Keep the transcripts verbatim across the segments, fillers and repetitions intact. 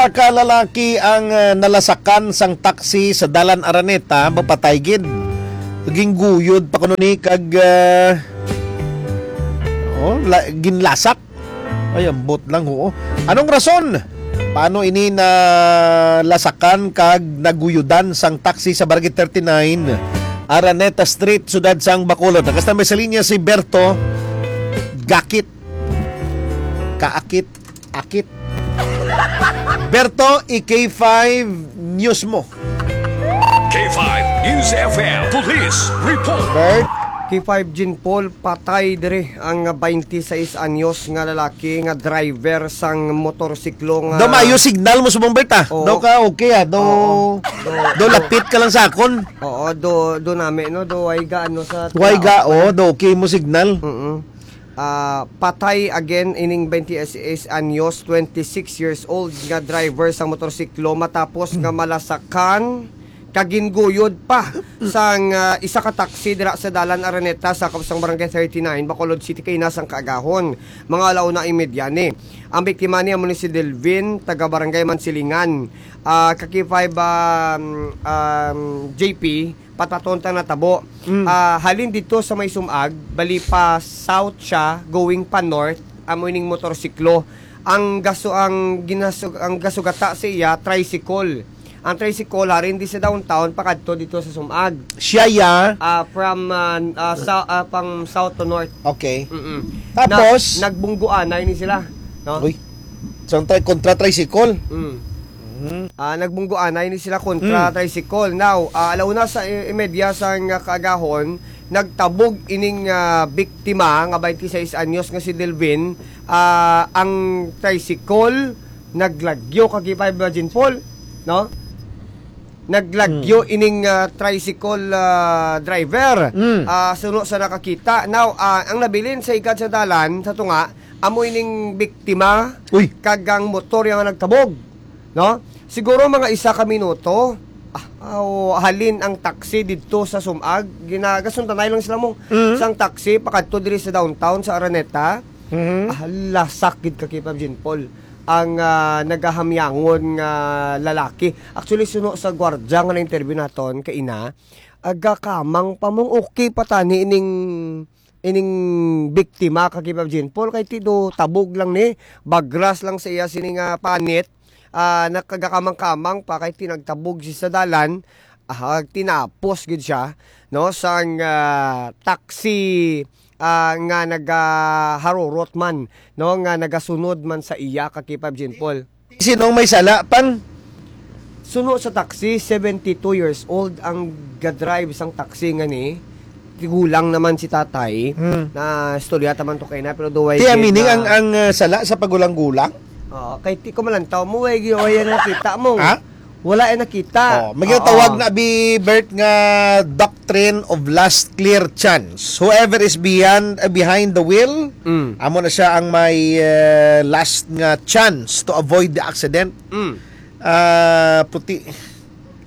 Ka lalaki ang, ah, nalasakan sang taxi sa Dalan Araneta, mapatay gid. Gingguyod pa kuno ni kag, ah, oh, la-, ginlasak. Ay, ambot lang, oo. Anong rason? Paano ini nalasakan kag naguyudan sang taxi sa Barangay thirty-nine, Araneta Street, siyudad sang Bacolod? Nakasta may sa linya si Berto Gakit. Kaakit, akit. Berto, i-K five News mo. K five News F M Police Report. Bert? K five Jean Paul, patay dire ang twenty-six anyos nga lalaki nga driver sang motorsiklo nga... Do maayo signal mo subong, Bert, ah. Oo. Do ka okay, ah. Do, Oo. do lapit ka lang sa akon. Oo, do, do nami, no? Do, way ga, ano, sa... Way ga, oh, do okay mo signal. Mm-mm. Ah, patay again ining twenty-six anyos, twenty-six years old nga driver sang motorsiklo matapos nga malasakan kag ginguyod pa sang, ah, isa ka taxi dira sa Dalan Araneta, sakop sang Barangay thirty-nine, Bacolod City, kaina sang kaagahon, mga alauna imedya ni. Ang biktima ni amo ni si Delvin, taga Barangay Mansilingan. Ah, ka K five, um, um, J P, pataton ta natabo. Mm. Ah, halin dito sa may Sumag, bali pa south siya, going pa north, amo ining motorsiklo. Ang gaso ang ginasug ang gasugata sa iya tricycle. Ang tricycle harin di sa downtown pakadto dito sa Sumag. Siya ya. Ah, from ah, ah, sa ah, pang south to north. Okay. Mm-mm. Tapos? Na, nagbungguanay ni sila, no? Uy. Sa tri kontra tricycle. Mm. Mm. Ah, nagbungguanay ni sila kontra Mm. tricycle. Now, ah, alauna sa i- imedya sang kaagahon, nagtabog ining ah, biktima nga twenty-six anyos nga si Delvin. Ah, ang tricycle naglagyo, ka K five Jean Paul, no? Naglagyo ining ah, tricycle ah, driver. Mm. Ah, suno sa nakakita. Now, ah, ang nabilin sa ikad sa dalan sa tunga, amo ining biktima Uy. kag ang motor yang nagkabog, no? Siguro mga isa ka minuto, ah, aw, halin ang taxi didto sa Sumag, ginagasuntanay lang sila mo Mhm. sang taxi pakadto diri sa downtown sa Araneta. Mhm. Ah, lasak gid ka K five Jean Paul ang ah, nagahamyangon nga lalaki. Actually, suno sa gwardya nga na-interview naton kaina, agakamang pa mong okay pa tani ining ining biktima ka K five Jean Paul, kay ti do tabog lang ni, bagras lang sa iya sini nga panit, ah, nakagakamang-kamang pa kay ti nagtabog siya sa dalan, ah, tinapos gid siya, no, sang ah, taxi ah, nga nagaharurot man, no, nga nagasunod man sa iya ka K five Jean Paul. Sinong may sala pang? Suno sa taxi, seventy-two years old ang gadrive sang taxi nga ni. Tigulang naman si tatay. Hmm. Na istorya taman to kay na, pero duway Tiya gid meaning na- ang ang uh, sala sa pagulang-gulang? Oo, kay ti ko malantaw mo, way, way, way nakita mo. Ha? Wala ay nakita. Oh, may ginatawag na bi Bert nga doctrine of last clear chance. Whoever is beyond uh, behind the wheel, Mm. amo na siya ang may uh, last nga chance to avoid the accident. Mm. Ah, puti.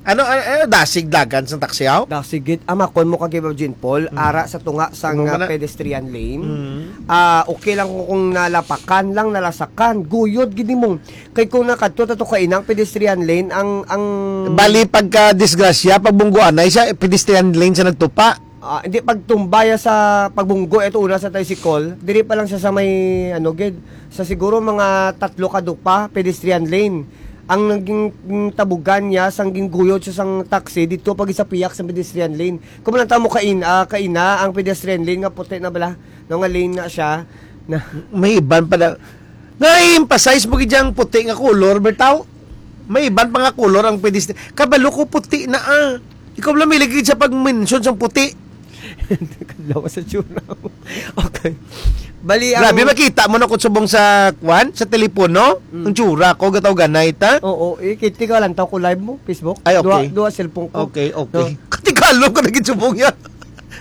Ano, ano, ano dasig dagan sa taxi, aw? Dasig gid, amakon mo ka K five Jean Paul, ara sa tunga sang Tunga ah, na. Pedestrian lane. Mm. Ah, okay lang kung, kung nalapakan lang, nalasakan, guyod gid mo. Kay kung nakadto ta to kainang pedestrian lane, ang ang Bali pagka disgrasya, pagbungguanay sa pedestrian lane sa nagtupa. Ah, hindi pagtumbaya sa pagbunggo ito una sa tricycle, diri pa lang siya sa may ano gid, sa siguro mga tatlo ka dupa pedestrian lane. Ang naging mm, tabugan niya sang gingguyod sa sang taxi dito pag sa piyak sa pedestrian lane. Kung lang tamo kain, ah, kaina ang pedestrian lane nga puti na bala, no, nga lane na siya. Na May iban pa na. Nga i-emphasize mo gid ang puti nga color, bertaw? May iban pa nga color ang pwede. Kabalo ko puti na ah. Ikaw lang may lagi sa pag-mention sa puti. Lawas sa tsura mo. Okay. Bali ang Grabe, makita mo na kung subong sa kwan, sa telepono. Mm. Ang tsura ko, gataw ganay ta. Oo, eh, kiti ka lang tao ko live mo, Facebook. Ay, okay. Duha, duha cellphone ko. Okay, okay. Katigalo ko na gid subong yan.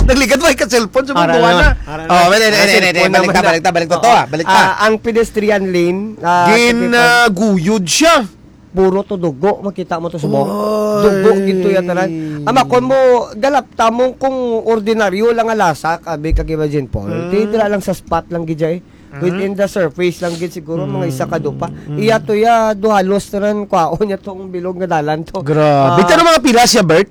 Nagligad mo ka cellphone, subong Ara buwan na. na. Ara na. Oh, wala, wala, Ara, wala, wala, cellphone balik ta, naman balik ta, na. balik ta to, Oo. ah, balik ta. Ah, ang pedestrian lane, ah, Gin kiti- ah, guyod siya. puro to dugo, makita mo to subong. Oy. Dugo gito yan tanan. Amakon mo, galap tamong kung ordinaryo lang nga lasak, abi ka Kiba Jean Paul. Hmm. Di dira lang sa spot lang gid jay. Within the surface lang gid siguro, mga isa ka dupa. Mm. Iya to, ya, do halos tanan kwaon niya tong bilog nga dalan to. Grabe. Ah. Ito na mga pila siya, Bert?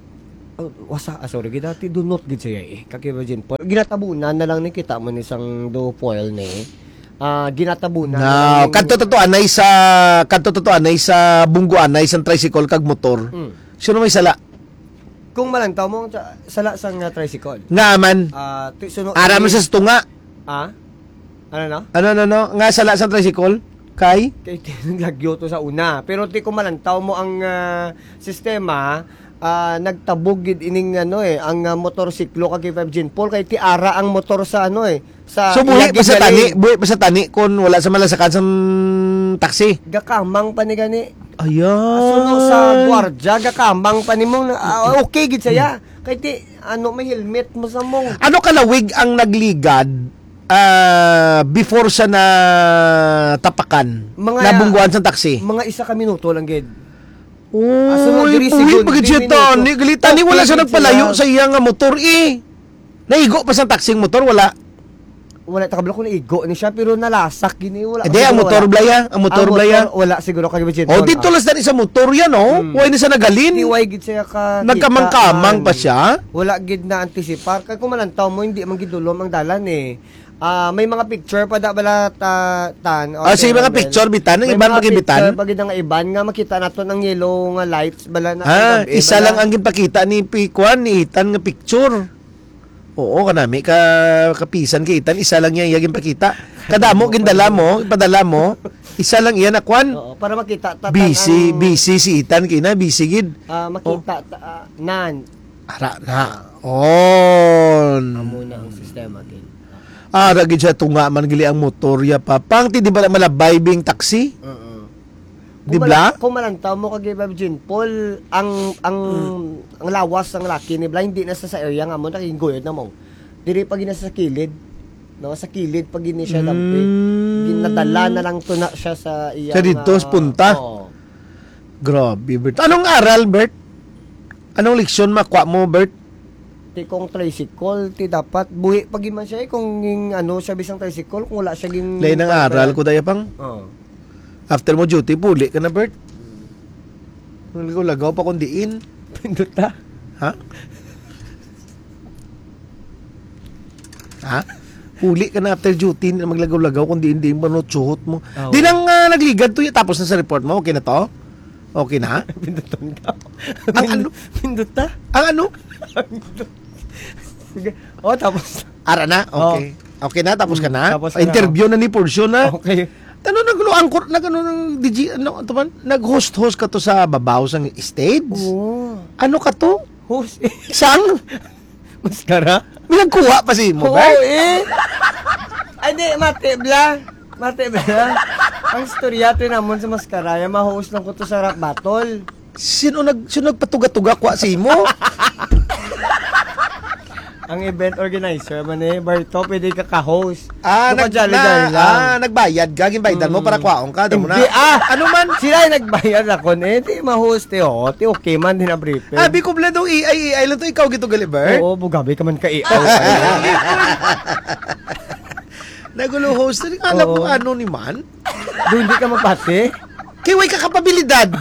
Oh, wasa, ah, sorry, gid dati do not gid siya, eh. Kaki Virgin Paul. Ginatabunan na lang ni, kita mo ni sang do foil ni. Ah, ginatabunan na lang No, ni. Kadto to anay sa, kadto to anay sa bunggo anay sang tricycle kag motor. Mm. Sino may sala? Kung malantaw mo, sa, sala sang, ah, tricycle. Nga man. Ah, ti-, suno-, Ara man ti-, sa tunga. Ah? Ano, no? Ano, no, no? Nga sala sa tricycle? Kay? Kay ti-, naglagyo to sa una. Pero ti kung malantaw mo ang, ah, sistema, ah, nagtabog gid ining, ano, eh, ang, ah, motorsiklo kag kay Five Gin Paul, kay ti ara ang motor sa, ano, eh, sa So, buhi iya pa sa gid tani, galing. Buhi pa sa tani kung wala sa malasakan sang taxi. Gakamang pa ni gani. Ayan. Suno sa gwardiya, gakamang pa nimo na, ah, okay gid saya. Kay ti, ano, may helmet mo sa mong. Ano kalawig ang nagligad, ah, before sa natapakan? Mga Nabungguan sa taxi? Mga isa ka minuto lang gid. Uy, Ah, sunod diri, buhi siguro, pa gid di siya minuto. Tani. Gali, tani, wala Okay siya gid nagpalayo siya. Sa iya nga motor, eh. Naigo pa sa taxi ang motor, wala. Wala, takabla kung naigo ni siya, pero nalasak gini, wala Hindi, siguro, ang motor wala. Blaya, ang motor Ang blaya. Motor, wala siguro kay Virgin Oh, Paul, dito ah. Lang sa sa motor yan, oh. Hmm. Why na siya nagalin? Di, why gid siya ka Nagkamang-kamang kita pa ang siya? Wala gid na antisipar. Kay kung malantaw mo, hindi man gid dulom ang dalan, eh. Ah, may mga picture pa da bala ta-, tan, Ah, sige, mga Rebel. Picture, bitan. Ang May iban mga pa gid bitan? Picture pa gid ang iban nga makita naton ang yellow nga lights bala na Ah, ang gabi, isa bala. Lang ang ginpakita ni Pi-, Kwan, ni Ethan nga picture. Oo, kanami ka kapisan kay Ethan, isa lang iya, iya ginpakita. Kadamo gindala mo, ipadala mo, isa lang iya na kwan. Oo, para makita ta-, Busy, ang busy si Ethan kay na, busy gid. Ah, makita Oh. Ta-, ah, nan. Ara na. On. Amo na ang sistema, Ken. Ara gid siya tunga man gali ang motor ya pa. Pang ti di ba malabay bing taxi? Oo. Di Kung bala? Mala-, kung malantaw mo kag Iba Jean Paul, ang, ang, Hmm. ang lawas sang laki ni Bla, hindi na sa, sa area nga mo, nakiguyod na mo. Diri pa gina sa kilid. No, sa kilid pa gini siya lampi. Hmm. Ginadala na lang to na siya sa iya Sa dito, nga, sa punta? Oo. Grabe, Bert. Anong aral, Bert? Anong leksyon makuha mo, Bert? Ti kung tricycle, ti dapat buhi pa gid man siya, eh, kung ging, ano, siya bisang tricycle, kung wala siya ging Lain ang aral ko, daya pang. Oo. After mo duty, puli ka na, Bert. Ang lagaw-lagaw pa kung diin. Pindot ta. Ha? Ha? Puli ka na after duty, hindi na maglagaw-lagaw kung diin-diin pa no tsuhot mo. Ah, Di oo. Lang, ah, nagligad to, tapos na sa report mo, okay na to? Okay na? Pindutan ka. Ang ano? Pindot ta. Ang ano? Sige. Oh, tapos. Ara na? Oh. Okay. Okay na? Tapos ka Mm, na? Tapos ka na, Interview oh. Na ni portion na. Okay. Ano, nagluangkot, nag-, ano, nang D J, ano, ito man? Nag-host-host ka to sa babaw sang stage? Oo. Ano ka to? Host. Sang? Mascara? May nagkuha pa si mo, Oo, ba? Eh. Ay, di, mati, bla. Mati, bla. Ang istorya, to namon sa mascara, yung ma-host lang ko to sa rap battle. Sino nag-, sino nagpatuga-tuga kwa sa imo? Ang event organizer man eh, Barto, pwede ka ka-host. Ah, Baka nag-, jolly-jolly na, lang. Ah, nagbayad ka, ginbaydan mo Mm. Para kwaon ka, damo na. Hindi, ah! Ano man? Sila yung nagbayad ako, eh, di ma-host, eh, oh, di okay man, di na briefing. Ah, Biko Blado, A I, A I lang to, ikaw gito gali, Bert? Oo, bugabi ka man ka, eh. Oh, Nagulo host, alam Oo. Mo ano ni man? Doon di ka mapati? Kay way ka kapabilidad.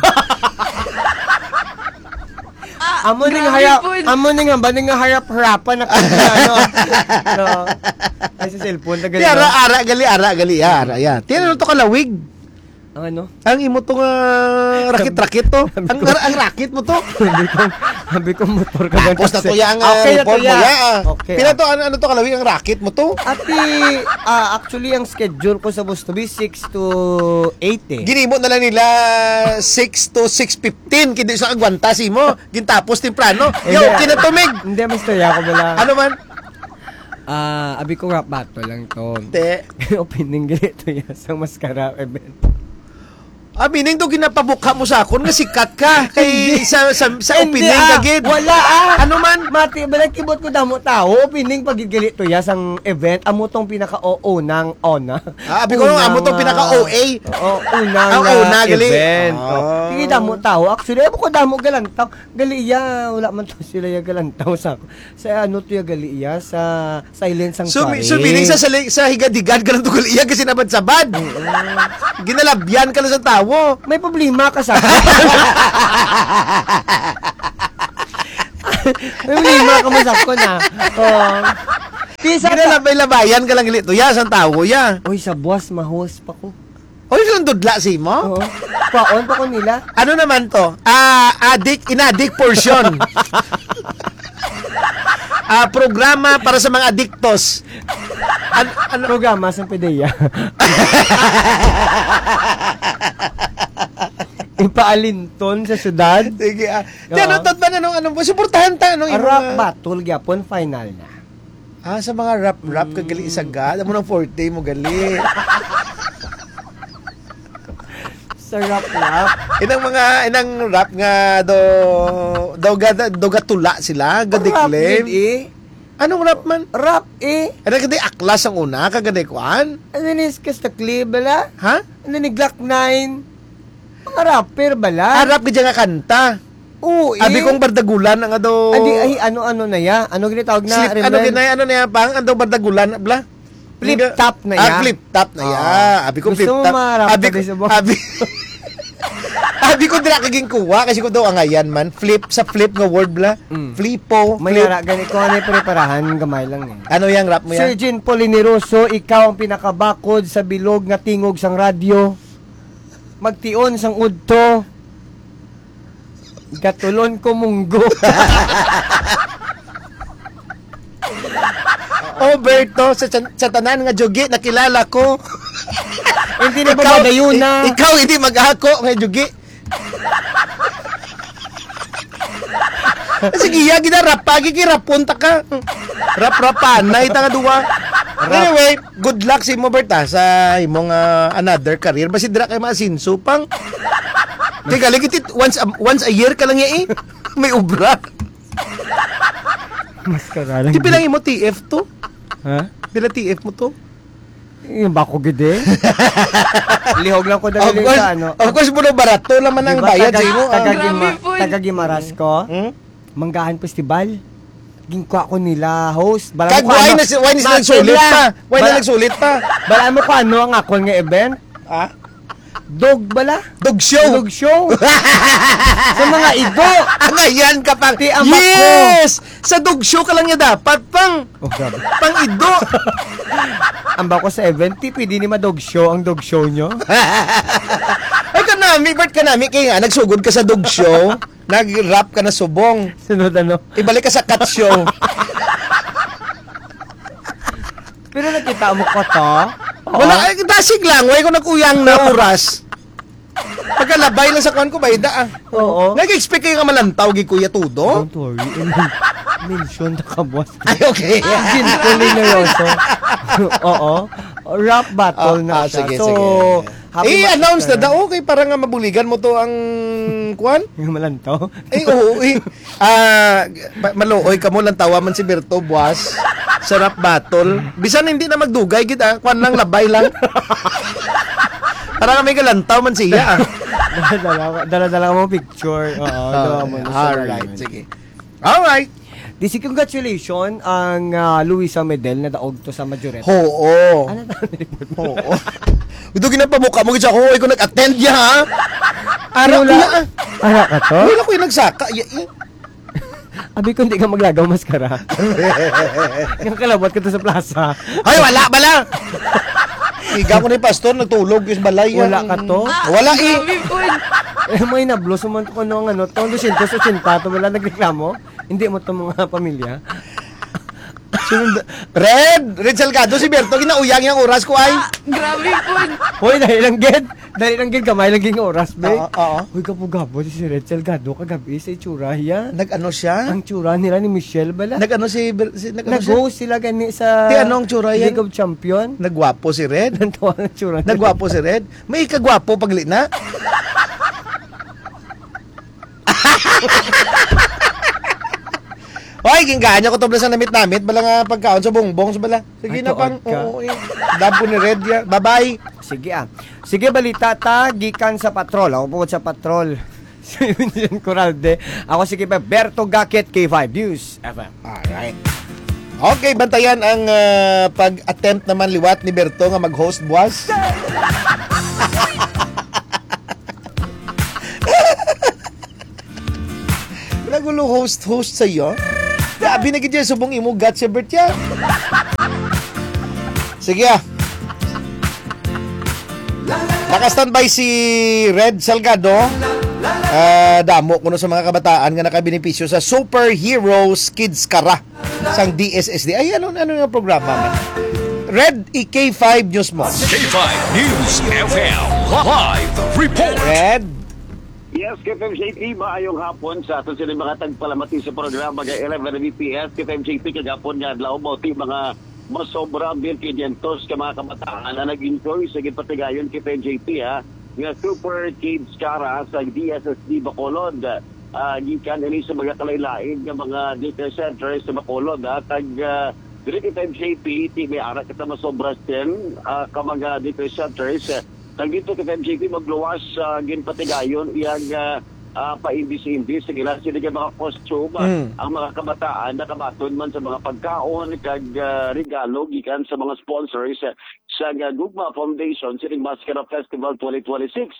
Amo ning Grabe harap, po. Amo ning hamba ning harap-harapan na kanya, ano. No. Ay, sa cellphone, tagal Di, ara, na. Ara, gali, ara, gali, ya, ara, ya. Tiyan, ano to kalawig? Ang ano? Ang imo to nga rakit-rakit to. Ang, ang rakit mo to. Sabi ko, sabi ko, motor ka ba? Tapos na to ya ang, ah, Okay, report mo ya, ah. Okay, Pila ah. To, ano, ano to kalawig ang rakit mo to? Ati, ah, actually, ang schedule ko supposed to be six to eight eh. Ginimo na lang nila six to six fifteen, kindi sa agwanta si mo. Gintapos temprano. Eh, Yo, hindi. Kinatumig. Hindi, may istorya ko bala. Ano man? Ah, abi ko rap battle lang to. Te. Opening gali to ya sa Mascara event. Ah, meaning daw ginapamukha mo sa akon nga sikat ka kay Hindi. sa, sa, sa Hindi, opening ah. ka gid. Wala, ah. Ano man? Mati, bala kibot ko damo tao, opening pa gid gali to ya sang event, amo tong pinaka o unang ona. Ah, abi ko, Unang, amo tong pinaka ah, O A. Oo, unang, Ah, una, ah, gali. event. Ah. Oh. Sige, damo tao. Actually, amo ko damo galantaw. Gali iya, wala man to sila ya galantaw sa, sa ano to ya gali iya, sa Silent So, Sanctuary. mi-, so, meaning sa, sa, sa higad-higad ka lang tugal iya kasi nabad-sabad. Oo. Ginalabyan ka lang sa tawo. May problema ka sa May problema ka man sa akon, ah. Oo. Di sa Ginalabay-labayan ka lang gali to. Ya, sa tawo, ya. Uy, sa buwas, mahos pa ko. Oy, silang dudla si mo? Oo. Kwaon pa ko nila. Ano naman to? Ah, adik, inadik portion. Ah, programa para sa mga adiktos. An-, ano? Programa sa PDEA. Ipaalinton sa syudad. Sige, ah. Di, ano, Oo. Tad, ba, anong, anong, suportahan ta, anong A imo rap nga battle gyapon, final na. Ah, sa mga rap-rap, Mm. kagali isa ga. Alam mo nang forte mo, gali. Sa rap-rap? Inang mga, inang rap nga do, do ga, do ga tula sila, ga Rap declaim. gid eh. Anong rap man? Rap eh. Ano ka di aklas ang una, kagani kuan? Ano ni Skastakli bala? Ha? Ano ni Glock nine? Mga rapper bala? Ah, rap gid nga kanta. Oo, Abi eh. kong bardagulan ang ado. Adi, ay, ano, ano na ya? Ano ginatawag na? Slip, ano Remember? ginay, ano na ya, pang? Ang daw bardagulan, bla? Flip Hindi. top na Ah, ya. flip top na ya. Ah. Abi ko Gusto flip mo top. maharap Abi ka ko, din sa buhay? abi, abi ko dira kaging kuha kasi ko daw angayan man. Flip, sa flip nga word, bla? Mm. Flipo, May flip. ara, gani ko, ano yung preparahan, gamay lang eh. Ano yang rap mo Sir yan? Jean Paul Iniroso, ikaw ang pinakabakod sa bilog nga tingog sang radyo. Magtion sang udto. Gatulon ko munggo. Oh, Berto, sa, sa, sa tanan nga jugi, nakilala ko. Hindi na ba Ikaw, madayuna? i-, ikaw hindi mag-ako nga jugi. Sige, ya, gina, rap, pagi, kirapon ta ka. Rap-rapan, na ita nga duwa. Rap. Anyway, good luck sa imo, Bert, ha, sa imong, ah, another career. Basi dira kay maasinso pang. Teka, lagi tit-, once a, once a year ka lang ya, eh. May obra. Mas karalang Di pila imo T F to? Ha? Pila T F mo to? Yung bako gid eh. Lihog lang ko Of dali course, sa ano. of course, bro, barato naman ang Diba, bayad sa taga, imo, ah. taga Gima-, Grabe, boy. taga Gimaras ko. Hmm? Manggahan Festival. Gingkuha ko nila host. Bala Kag mo ko why ano, na si-, why na sila nagsulit pa? Why na bala, nagsulit pa? bala mo ko ano ang akon nga event? Ah? Dog bala? Dog show. Dog show. Sa mga ido. Angayan ka pang. Ti, ang bako. Yes! Sa dog show ka lang niya dapat, pang. Oh, grabe. Pang ido. Ang bako sa event, ti, pwede ni ma-dog show ang dog show nyo? Ay, kanami, Bert, kanami. Kaya nga, nagsugod ka sa dog show, nag-rap ka na subong. Sunod ano? Ibalik ka sa cat show. Pero nakita mo ko to? Oo. Wala, ay, dasig lang. Wala ko nag-uyang na oras. Pagkalabay lang sa kuwan ko, bayda, ah. Oo. Nag-expect kayo nga malantaw, gi Kuya Todo? Don't worry. Mention na ka, boss. Ay, okay. Gin Neryoso. Oo. Rap battle Ah, na ah, siya. sige, So, sige. happy I-announce na master. daw, okay, para nga mabuligan mo to ang kuwan? Yung malantaw? Eh, oo, eh. Ah, pa-, maluoy ka mo, lantawa man si Berto, buwas, sa rap battle. Bisan hindi na magdugay, gid, ah. Kwan lang, labay lang. Para kami galantaw man siya, ah. Dala-dala, dala-dala mo picture. Oo, Ah, dala mo na sa alright, ganyan. sige. Alright. Di si congratulations ang, ah, Luisa Medel na daog to sa Majorette. Oo. Ano tawag ni Report? Oo. Ito ginapamukha mo gid sa ako, ikaw nag-attend niya, ha? Ara Wala. ko na, ah. Ara ka to? Wala ko yung nagsaka, ya, eh. Abi ko, hindi ka maglagaw maskara. Yung kalabot ka to sa plaza. Ay, wala, bala! Higa ko ni pastor, nagtulog yung balay. Wala ka to? Wala, eh. Grabe po. Eh, may nablos mo man to kung ano, ano, to, dosyentos otsenta to, wala nagreklamo? Hindi mo to mga pamilya? Sunod, Red! Red Salgado, si Berto, ginauyang yung oras ko ay. Ah, grabe po. Hoy, dali lang, gid. Dali lang, gid. Gamay lang, gid, oras, be. Oo, oo. Hoy, kapo-kapo, si Red Salgado, kagabi sa itsura, ya. Nag-ano siya? Ang tsura nila ni Michelle, bala. Nag-ano si Ber-, si, nag-ano siya? Nag-host sila gani sa Ti, anong tsura yan? League of Champion. Nagwapo si Red? Ang tawag ang tsura nila. Nagwapo si Red? May kagwapo pagli na? Oy, ginggahan niya ko to, bala, sa namit-namit, bala nga pagkaon sa bongbong, sa bala. Sige na, pang, oo, eh. Dab ko ni Red, ya. Bye-bye. Sige, ah. Sige, balita ta, gikan sa patrol. Ako po sa patrol. Si Vincent Coralde. Ako si Kipe Berto Gakit, K five News F M. Alright. Okay, bantayan ang, ah, pag-attempt naman liwat ni Berto nga mag-host buwas. Nagulo host-host sa iyo. Grabe na gid yan, subong imo guts, Ebert, ya. Sige, ah. Naka-standby si Red Salgado. Ah, damo kuno sa mga kabataan nga nakabenepisyo sa Superheroes Kids Kara sang D S S D. Ay, ano, ano nga programa man? Red, i-K five News mo. K five News F M live report. Red. Yes, K five J P, maayong hapon sa aton sini mga tagpalamati sa programa nga eleven B P S. K five J P, kagapon nga adlaw mo, ti mga masobra mil quinientos ka mga kabataan na nag-enjoy sa gipatigayon, K five J P, ha, nga Super Kids Kara sa D S S D Bacolod. Ah, gikan ini sa mga kalain-lain nga mga daycare centers sa Bacolod, ha, kag, ah, diri, K five J P, ti may ara kita masobra ten, ah, ka mga daycare centers, ah, kag dito, K five J P, magluwas, ah, ginpatigayon iyang, ah, ah, paimbis-imbis sa ilang sini nga mga costume, ah, Mm. ang mga kabataan nakabaton man sa mga pagkaon kag, ah, regalo gikan sa mga sponsors, ah, sa, ah, Gugma Foundation sining Maskara Festival twenty twenty-six.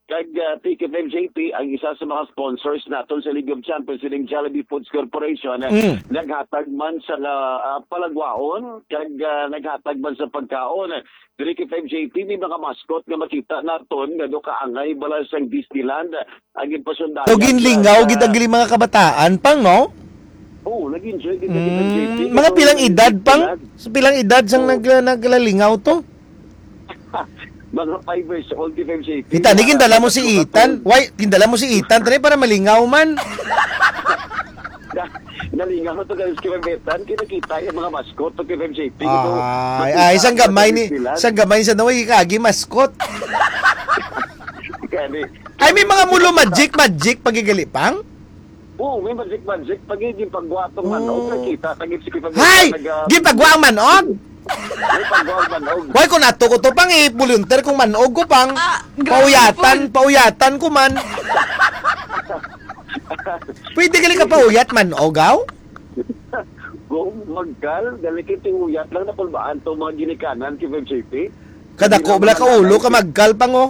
Kag, ah, ti, K five J P, ang isa sa mga sponsors naton sa League of Champions, sining Jollibee Foods Corporation, ah, Mm. naghatag man sa, ah, ah, palagwaon kag, ah, naghatag man sa pagkaon. Diri, K five J P, may mga mascot nga makita naton nga do kaangay bala sang Disneyland ang ginpasundayan. So, ginlingaw gid ang mga kabataan, pang, no? Oo, nag-enjoy gid ang K five J P. Mm, mga pilang edad, pang? Sa pilang edad sang nag-, naglalingaw to? Mga five years old, K five J P. Kita, ni gindala mo si Ethan. Why, gindala mo si Ethan, tani, para malingaw man. Na-, nalingaw to, guys, kay Betan, kinakita yung mga mascot to kay F M J P. Ay, ay, isang gamay ni, isang gamay sa naway, kagi mascot. Gani. Ay, may mga mulo magic, magic, pagigali pang? Oo, may magic, magic. Pag yung pagwatong manok, nakita, tagit si Kipag-, Hay! Gipagwa ang manog? May pagwatong manok. Why, kung ato ko to, pang i-volunteer kung manog ko, pang Ah, grabe pauyatan, po. Pauyatan ko man. Pwede gali ka pauyat man, ogaw? Go, magkal, dali kay tiuyat lang na kulbaan to mga ginikanan kay F M J P. Kadako bala ka ulo ka magkal pang, oh.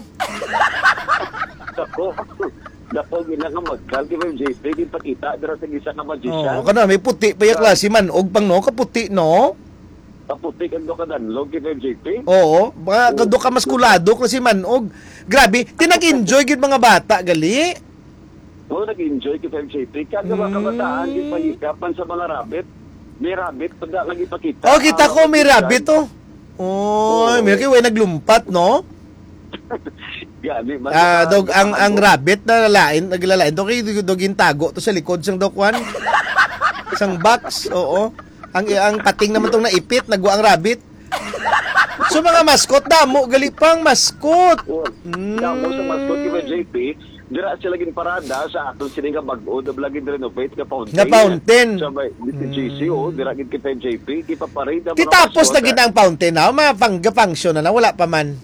Dako. Dako gina nga magkal kay F M J P, di pakita dira sa isa ka magician. Oh, kana may puti pa yung klase man, og pang no, kaputi, no? Kaputi kag do ka danlog kay F M J P. Oo, mga Oo. Kado ka maskulado klase man, og grabe, tinag-enjoy gid mga bata gali. Oo, nag-enjoy kay F M J P. Kag mga Mm. kabataan, di pa hikapan sa mga rabbit. May rabbit pa da nga gipakita. Oh, kita ko, may rabbit, oh. Oh, may kay way naglumpat, no? Gani, mas Ah, mga dog, ang, ang ano. Rabbit na lalain, naglalain. Dog, dog, dog, yung tago to sa likod sang dokwan. Sang box, oo. Ang, ang pating naman tong naipit, nagwa ang rabbit. So, mga mascot, damo, gali pang mascot. Oh, Mm. damo sa mascot, kay F M J P. Dira sila ginparada sa aton sini nga bag-o, na bala gin-renovate nga fountain. Nga fountain. Sa may, dito Mm. G C O, dira gid kay F M J P, gipaparade ang mga Ti tapos mascot, na gid ah. Ang fountain, ha? Mga pang-, function na na, wala pa man.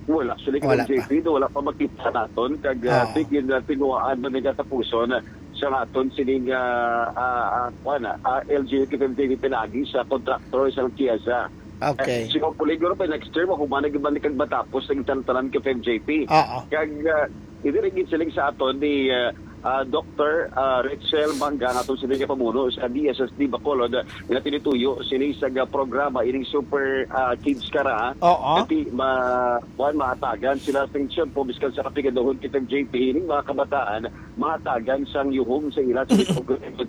Wala, actually, Wala F M J P, pa. Do, wala pa makita naton. Kag, ah, Oo. Tigin na tinuwaan man nga tapuson, ah, sa naton sining, ah, ah, ah, kuwan, ah, ah, L G U T F M T V pinagi sa contractor sa Chiesa. Okay. Eh, siguro, siguro pa next term, ako man nagibalik ang matapos ng tantanan kay F M J P. Oo. Kag, ah, hindi rin gid siling sa aton ni, ah, ah, Doktor, ah, Rachel Mangga, nga aton sini nga pamuno sa D S S D Bacolod, ah, nga tinituyo sini sa ga programa ining Super, ah, Kids Kara. Oo. Kati ma-, kuwan, mahatagan sila sa tiyempo, biskan sa kapigaduhon kay F M J P, ining mga kabataan mahatagan sang yuhom sa ila sa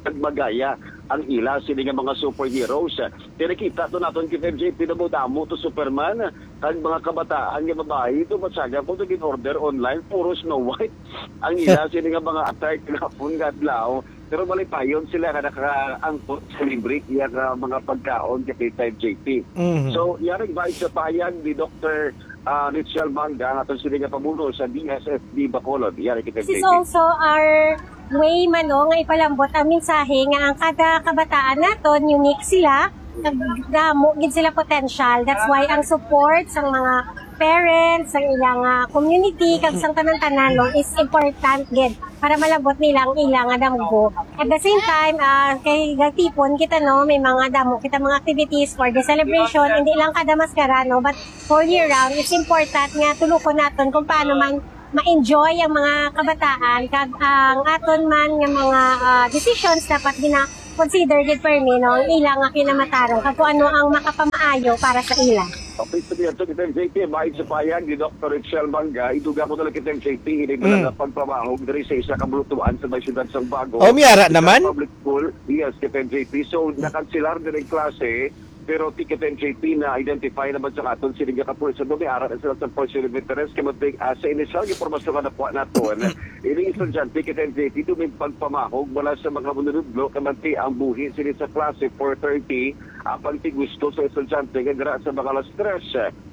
kag magaya ang ila sini nga mga superheroes. Kay nakita to naton kay M J P, namo damo to Superman, kag mga kabataan nga babayi to, matsaga ko to gin-order online, puro Snow White ang ila sini nga mga attire kahapon nga adlaw. Pero malipayon sila nga nakaangkot sa libre iya nga mga pagkaon kay M J P. Mhm. So, yari ba sa pahayag ni Doktor, ah, Richel Manga, ang aton sini nga pamuno sa D S S D Bacolod? Yari kay This is M J P. Also our way man, no, nga ipalambot ang mensahe nga ang kada kabataan naton unique sila, nagdamo gid sila potential. That's why ang support sa mga parents, sa ilang, ah, community, kag sa tanan-tanan, no, is important gid para malabot nila ang ilang, ah, damgo. At the same time, ah, kay gagtipon kita, no, may mga damo kita mga activities for the celebration, hindi lang kada maskara, no, but all year round. It's important nga tulukon naton kung paano man ma-enjoy ang mga kabataan kag ang aton man nga mga, ah, decisions dapat gina-consider gid permi, no, ang ila nga kinamatarong kag kung ano ang makapamaayo para sa ila. Okay, sa diyan, Doktor J P, bahin sa pahayag ni Doktor Richel Manga, iduga ko na lang kita, J P, ini mo Mm. lang ang pagpamahog diri sa isa ka bulutuan sa may siyudad sang Bago. Oh, may ara Isa naman? Public school, yes, kita, J P. So, nakansilar din ang klase, pero ti kita, J P, na-identify naman sa aton sini nga kapulisan. May ara na sila sa person of interest, kay matig, ah, sa initial nga impormasyon nga nakuha naton, ini estudyante, kita, J P, ito may pagpamahog mula sa mga manunudlo, kay manti ang buhi sini sa klase four thirty, apang ti gusto sa estudyante nga dira sa mga alas tres.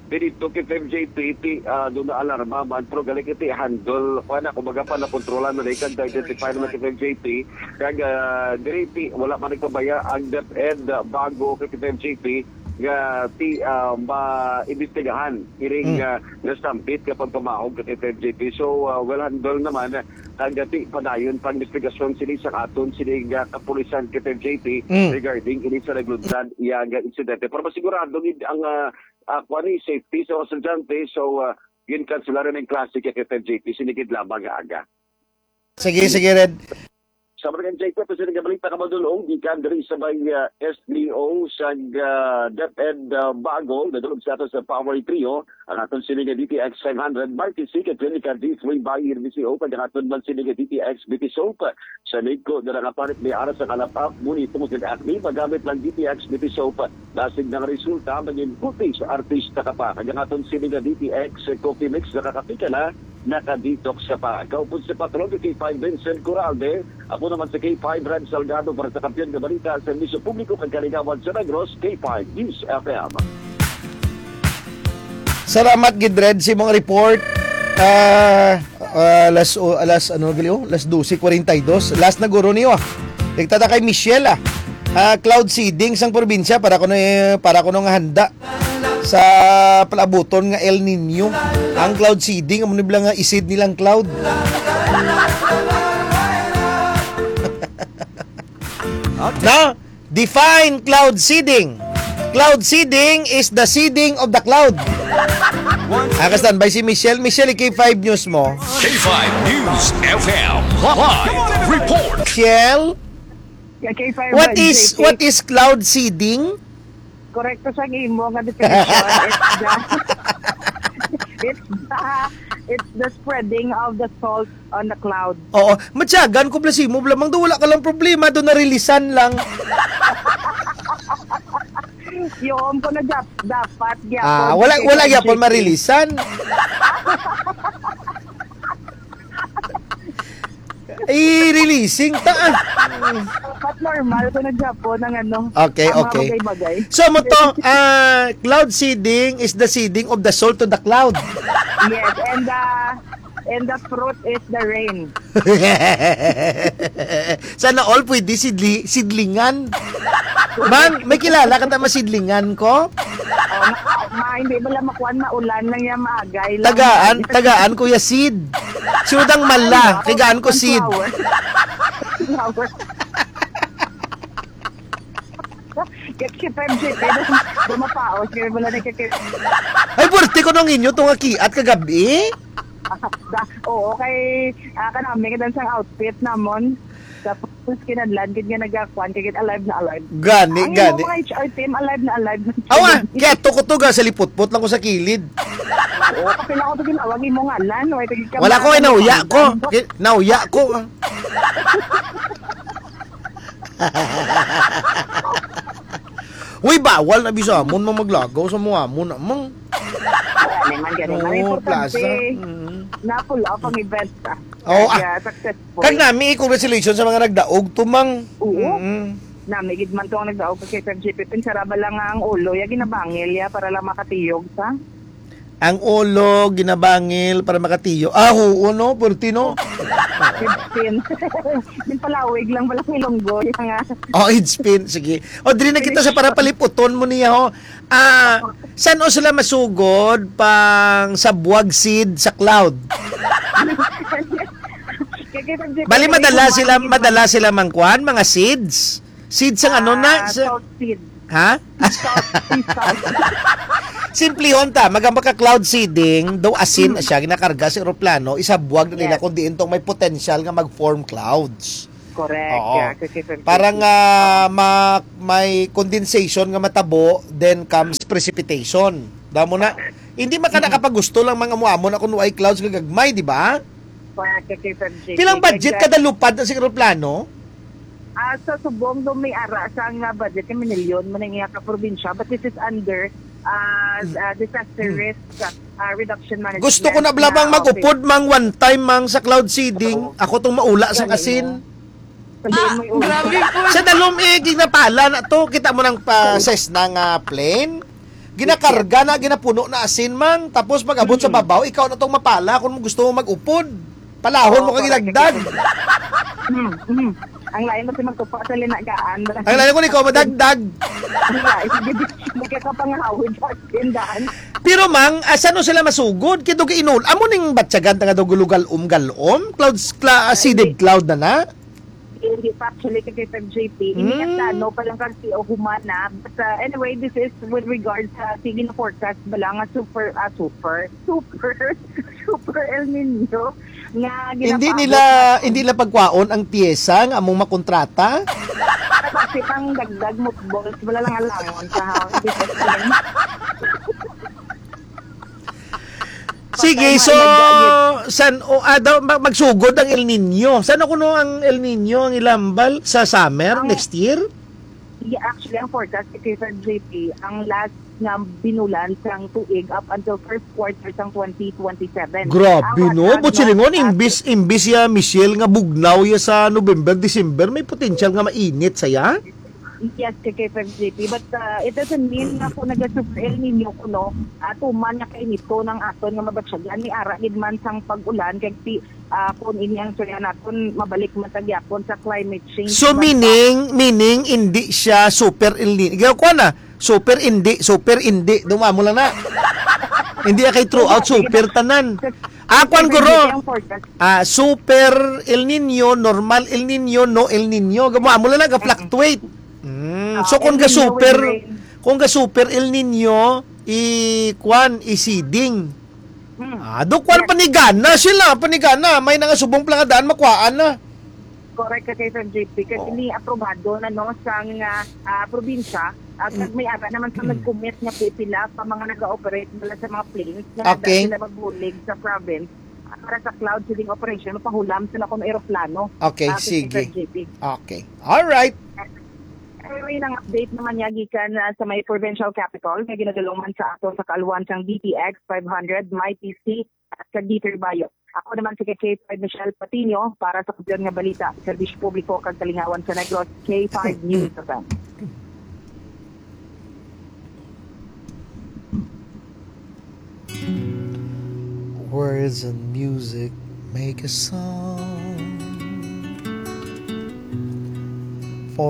Didto kay M J P, ti, ah, doon na alarma man, pero gali kay ti handle, kuha na, kumbaga pa, nakontrolan na, kag na-identify naman kay M J P, kag, ah, diri ti, wala man nagpabaya ang DepEd, ah, Bago kay M J P, nga ti, ah, maimbestigahan, iring, Mm. ah, nasambit nga pagpamahog kay M J P. So, ah, well handle naman, ah, kag ti, padayon pang investigasyon sini sa aton, sini nga kapulisan kay M J P Mm. regarding ini sa naglundan iya nga insidente. Para masigurado gid ang, ah, ah, kuwan ni, safety sa mga estudyante. So, ah, ginkanselaran ang klase kay F F J P, sinikid lamang nga aga. Sige, sige, Red. Sa mga J P, ito sila nga balita nga madulong, gikan diri sa may, ah, S D O sa, ah, DepEd, ah, Bago, nadulog sa ato sa Power Trio, ang aton sini nga D T X five hundred, Marquis C, kag Clinica D three by R B C O, kag ang aton man sini nga D T X Beauty Soap. Sa Migco, dira nga palit may aras sa kalapap, ngunit tungod kag acne, magamit lang D T X Beauty Soap. Basig nga resulta, maging puti sa artista ka pa. Kag ang aton sini nga D T X Coffee Mix, nakakapi ka na, naka-detox ka pa. Kaupod sa patron, K five Vincent Coralde. Ako naman si K five Brad Salgado para sa Kampiyon nga Balita, Serbisyo Publiko kag Kaligawan sa Negros, K five News F M. Salamat gid, Red, sa imong report. Ah, ah, alas, o, alas, ano, gali, oh, alas dose kwarenta y dos. Last na guro niyo, ah. Nagtata kay Michelle, ah. Ah, cloud seeding sang probinsya para kuno, eh, para kuno nga handa sa palabuton nga El Niño. Ang cloud seeding, amo ni bala nga i-seed nilang cloud. Na, define cloud seeding. Cloud seeding is the seeding of the cloud. Ah, ka-standby si Michelle. Michelle, K five News mo. K five News F M, live report. Michelle, Yeah, K five what Red is, J P. What is cloud seeding? Korekto sa imo nga definition. It's the, it's the, it's the spreading of the salt on the cloud. Oo, matyagan ko bala sa imo, bala, mang do wala ka lang problema, do narilisan lang. Yun ko na dap-, dapat gyapon. Ah, wala, wala gyapon marilisan. I-releasing ta, ah. But normal ko na gyapon ang ano, Okay, ang mga okay. bagay-bagay. So, mo to, ah, cloud seeding is the seeding of the soul to the cloud. Yes, and the, and the fruit is the rain. Sana all pwede sidli-, sidlingan. Man, may kilala ka ta masidlingan ko? Oh, ma-, ma-, hindi mo lang makuan, maulan lang yan, maagay lang. Tagaan, tagaan ko ya seed. Sunod ang mala, Ano? Tagaan ko seed. Sunflower. Sunflower. Kaya si Pepsi, pero dumapaos, kaya wala na kaya. Ay, birthday ko nung inyo, tunga kiat kagabi. Da-, oo, kay, ah, kanami ka dan sang outfit namon. Tapos, kinadlan, gid nga nagakuan, kay gid alive na alive. Gani, Ang gani. Mga H R team, alive na alive. Awa, kaya tukutuga sa liputpot lang ko sa kilid. O, kapila ko to ginawag imo ngalan, o, ito gid ka Wala ko, eh, ba? nauya ko. Ano? Ki-, nauya ko, ah. Uy, bawal na bisa amon mang maglagaw sa mga amon, amang. Gani man, gani man. Oo, importante, plaza. Mm. Na-pull off ang event, ah. Oo, ah. Kaya successful. Kag nami, congratulations sa mga nagdaog, tumang. Oo. Mm. Nami gid man to ang nagdaog kay Sir J P. Pinsara ba lang nga ang ulo, ya ginabangil, ya, para lang makatiyog sa Ang ulo, ginabangil para makatiyo. Ah, oo, no? Purti, no? Head spin. Yung palawig lang pala ng ilonggo. Yung nga. Oh, head spin. Sige. O, diri na kita sa para paliputon mo niya, ho. Ah, san o sila masugod pang sa buwag seed sa cloud? Kaya kita, Bali, kaya madala kita sila, mga madala sila mangkuan, mga seeds. Seeds ang ano na? Ah, Sa salt seed. Ha? Salt, sea salt. Simplihon ta, magamba ka cloud seeding, daw asin na Hmm. siya, ginakarga sa eroplano, isabuwag na nila Yes. kung diin tong may potential nga mag-form clouds. Correct. Oo. Yeah, kasi Parang, ah, ma-, may condensation nga matabo, then comes precipitation. Damo na. Hindi man ka Hmm. nakapagusto lang mga amo-amo na kung way clouds nga gagmay, di ba? Correct, kasi Sir J P. Pilang budget Exact- kada lupad na sa eroplano? Ah, sa subong do may ara sa nga budget nga minilyon man ang iya ka probinsya, but this is under, ah, Mm. ah, disaster Mm. risk, ah, reduction management Gusto ko na bala na bang mag-upod office. mang one time mang sa cloud seeding? Oo. Ako tong maula sang Galing asin. mo. Sabihin mo yung Ah, grabe po. Sa dalom, eh, ginapala na to. Kita mo nang pa Galing. ses na nga plane. Ginakarga na, ginapuno na asin mang. Tapos pag-abot sa Mm. babaw, ikaw na tong mapala kung gusto mo mag-upod. Palahon mo Oo, kag correct. Ilagdag. Hmm, hmm. Ang lain mo si magtupa sa linagaan. Ang lain ko ni ko madagdag. Ang lain, sige, di, magkakapangahawid sa tindahan. Pero, mang, ah, saan sila masugod? Kito ka inul-, amo ning batyagan nga daw gulugal-om-galom? Clouds, cla-, ah, seeded cloud na na? Hindi pa actually kay Sir J P. Ini Mm. ang plano pa lang kasi o humana. But, uh, anyway, this is with regard sa sige na forecast ba lang nga super, ah, super, super, super El Nino nga Hindi ginapaabot nila, natin. Hindi nila pagkwaon ang pyesa nga among makontrata? Kasi pang dagdag mothballs, wala lang alangon sa house. Sige, Patay so, na ilagay. san, o, ah, daw, mag-, magsugod ang El Nino. San kuno ang El Nino ang ilambal sa summer Ang next year? Yeah, actually, ang forecast kay Sir J P, ang last nga binulan sang tuig up until first quarter sang twenty twenty-seven. Grabe, Ang no? But ang silingon, forecast imbis, imbis ya Michelle nga bugnaw ya sa November, December, may potential nga mainit saya? Yes, kay, kay Sir J P. But, uh, it doesn't mean na kung naga-super El Nino kuno, ah, tuman nga kainito ng aton nga mabatyagan. Ni ara gid man sang pag-ulan, kay si, ah, kung ini ang istorya naton, mabalik man ta gyapon sa climate change. So, But, meaning, meaning, hindi siya super El Nino. Ikaw, kuha na. Super hindi, super hindi. Dumamo lang na. Hindi kay throughout, Sige, sige. super tanan. Ah, kuwan, Sige, guro. sige, ang forecast. Ah, super El Nino, normal El Nino, no El Nino. Gamo, amo lang na, ga-fluctuate. Mm. Ah, So, kung El Nino ga-super, will rain. kung ga-super El Nino, i-, kwan, i-seeding. Hmm. Ah, do, kwan, Yes. panigana sila, panigana. May na nga subong pala nga daan, makuhaan na. Correct ka kay Sir J P. Kasi Oo. ni aprobado na, no, sang, ah, ah, probinsya. At Mm. may ara naman sa Mm. nag-commit nga pipila pa mga nag-ooperate nila sa mga planes na Okay. nagdala sila magbulig sa province, ah, para sa cloud seeding operation, mapahulam sila kung eroplano. Okay, Ah, sige. Sir J P. Okay. All right. Anyway, nang update naman niya gikan, ah, sa may provincial capital nga ginadulungan sa ato sa kaaluan sang D T X five hundred, Mighty C, at sa Dieter Bayo. Ako naman si K five Michelle Patino para sa Kampiyon nga Balita, Serbisyo Publiko kag Kalingawan sa Negros, K five News F M. Words and music make a song.